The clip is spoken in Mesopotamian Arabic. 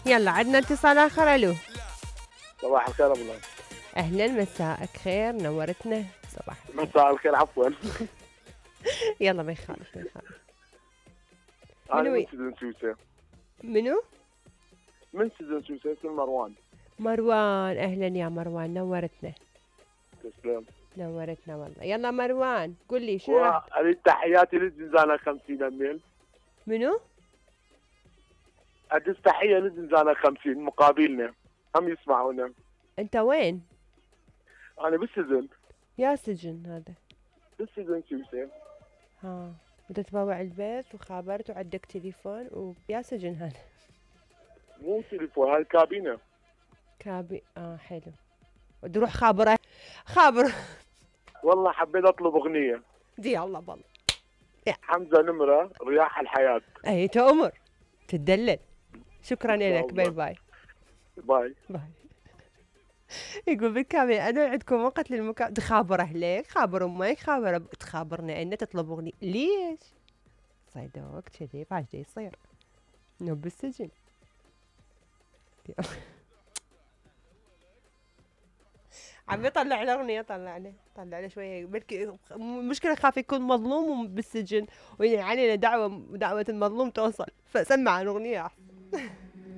يلا عندنا اتصال آخر. ألو صباح الخير ابو الله. أهلا مساءك خير نورتنا. صباح مساء الخير عفوا. يلا ما يخالف ما يخالف. انا من سيدن سوسه. منو؟ من سيدن سوسه اسمي مروان. مروان أهلا يا مروان نورتنا. تسلم. نورتنا والله. يلا مروان قل لي شنو اريد تحياتي للزنزانة 50 اميل. منو؟ ادز تحيه للزنزانة 50 مقابلنا هم يسمعونا. انت وين؟ انا بالسجن. يا سجن هذا؟ بالسجن سوسه. ها انت تبوع البيت وخابرت وعندك تليفون ويا سجن هذا؟ مو تليفون هاي كابينه. حلو. تروح خابره خابر. والله حبيت اطلب اغنيه. دي الله بالله. حمزه نمره رياح الحياه. اي تأمر تدلل. شكرا لك. باي باي. باي باي. يقول بالكامل انا عندكم وقت للمكالمة. تخابر اهلك خابر امك تخابرنا ان تطلب اغنيه. ليش صيدوك كذي بعد يصير انه بالسجن. عم يطلع له اغنيه. طلع له شويه بلكي مشكله خاف يكون مظلوم بالسجن ويعني علينا دعوه المظلوم توصل فسمع الاغنيه احسن.